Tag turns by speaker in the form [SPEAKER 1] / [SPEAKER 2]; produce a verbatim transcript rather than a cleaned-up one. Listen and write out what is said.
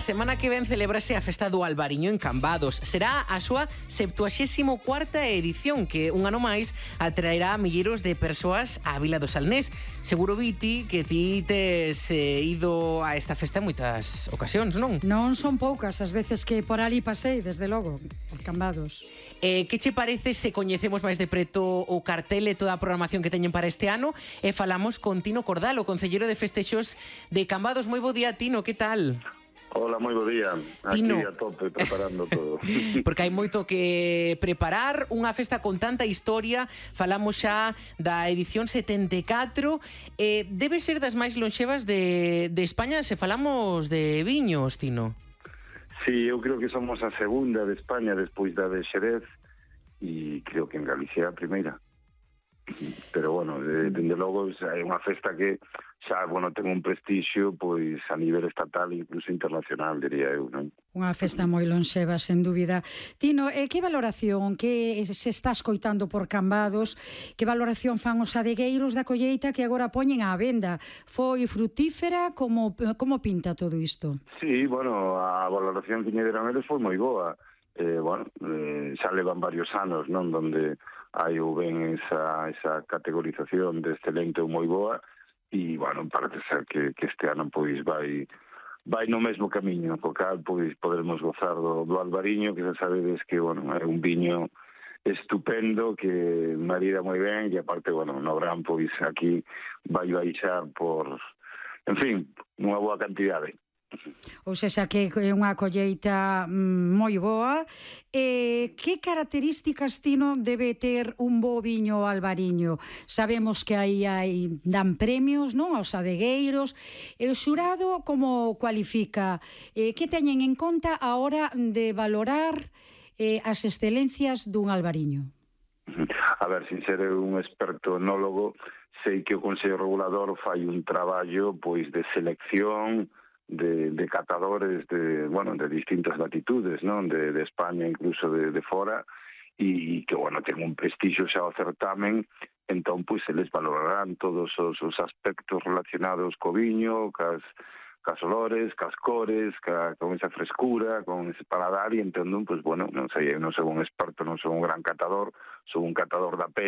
[SPEAKER 1] semana que ven celebrase a festa do Albariño en Cambados. Será a súa septuaxésimo cuarta edición, que un ano máis atraerá a milleiros de persoas á Vila do Salnés. Seguro, Viti, que ti tes eh, ido a esta festa en moitas ocasións, non?
[SPEAKER 2] Non son poucas as veces que por ali pasei, desde logo, por Cambados.
[SPEAKER 1] Eh, que che parece se coñecemos máis de preto o cartel e toda a programación que teñen para este ano e falamos con Tino Cordal, o concelleiro de festexos de Cambados? Moi bo día, Tino, que tal?
[SPEAKER 3] Hola, moi bo día. Aquí
[SPEAKER 1] Tino.
[SPEAKER 3] a tope, preparando todo.
[SPEAKER 1] Porque hai moito que preparar, unha festa con tanta historia. Falamos xa da edición setenta e catro. Eh, debe ser das máis lonxevas de, de España se falamos de viños, Tino.
[SPEAKER 3] Sí, eu creo que somos a segunda de España despois da de Xerez e creo que en Galicia a primeira. Pero, bueno, de, dende logo é unha festa que xa, bueno, ten un prestixio pois a nivel estatal e incluso internacional, diría eu, non?
[SPEAKER 2] Unha festa moi lonxeva, sen dúbida. Tino, eh, que valoración que se está escoitando por Cambados, que valoración fan os adegueiros da colleita que agora poñen á venda? Foi frutífera? Como, como pinta todo isto?
[SPEAKER 3] Sí, bueno, a valoración que lle deron eles foi moi boa. Eh, bueno, eh, xa levan varios anos, non? Donde hai ou ben esa, esa categorización de excelente ou moi boa e, bueno, parece ser que, que este ano pois vai vai no mesmo camiño, co cal pois poderemos gozar do, do Albariño, que xa sabedes que, bueno, é un viño estupendo que marida moi ben e aparte, bueno, no gran pois aquí vai baixar por, en fin, unha boa cantidade.
[SPEAKER 2] Ou seja, que é unha colleita moi boa. Eh, que características, Tino, debe ter un bo viño albariño? Sabemos que aí hai, dan premios, non, aos adegueiros. E o xurado como cualifica? Eh, que teñen en conta a hora de valorar eh, as excelencias dun albariño?
[SPEAKER 3] A ver, sin ser un experto enólogo, sei que o Consello Regulador fai un traballo pois de selección De, de catadores de, bueno, de distintas latitudes, non? De, de España, incluso de, de fora, e que, bueno, ten un prestixio xa o certamen, entón, pois, se les valorarán todos os, os aspectos relacionados co viño, cas, cas olores, cas cores, ca, con esa frescura, con ese paladar, e entón, pois, bueno, non sei, eu non sou un experto, non sou un gran catador, sou un catador da pe